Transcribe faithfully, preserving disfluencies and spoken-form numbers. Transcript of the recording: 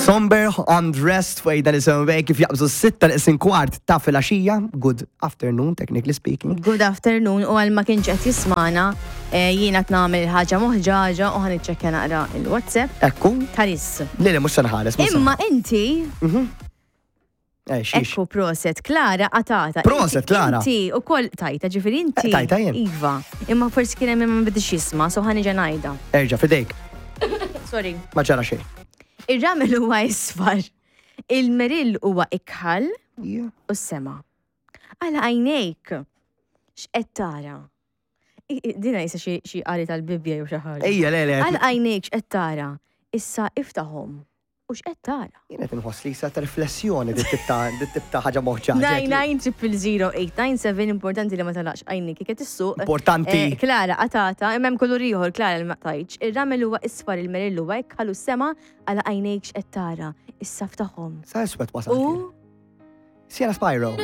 Somber Undressed fuq dan is-sewwej kif jaqbżu s-sitta neqsin kwart ta' filgħaxija. Good afternoon, technically speaking. Good afternoon, u għal ma kienx qed jismana, eh, jiena qed nagħmel ħaġa moħġaġa u ħa niċċekkja naqra il-WhatsApp. Ekku. Taris. Le, le, mhux se nħares. Mhux se Imma inti, Eh, xiex. Ekku, proset, Klara qatata. Proset, Inti- Klara. Inti u koll tajta, ġifieri inti. Eh, tajta jien. Iva. Imma forsi kien hemm ma bidix jisma', so ħa niġi ngħidha. Erġa', fidejk. Sorry. Ma ġara xejn. Ir-ramel huwa isfar. Il-merill huwa ikħal Yeah. u s-sema. Għala għajnejk. X'qed tara? I- i- Dina jisa xi xi qari tal-Bibbja jew xi ħaġa. Ejja, le, le. Għal għajnejk x'qed tara? Issa iftaħhom. U x'qed tara? Jien qed inħoss li sa ta' riflessjoni dit tip ta' dit tip ta' ħaġa moħġaġa. nine nine triple zero eight nine seven, importanti li ma tagħlaqx għajnik kif issuq. Importanti. Eh, Klara, qatata, imma hemm kulur ieħor, Klara, li ma tajtx. Ir-ramel huwa isfar, il-merill huwa ikħal u s-sema, għala għajnejk x'qed tara? Issa ftaħhom. Sa iswed wasal. U Sienna Spyro.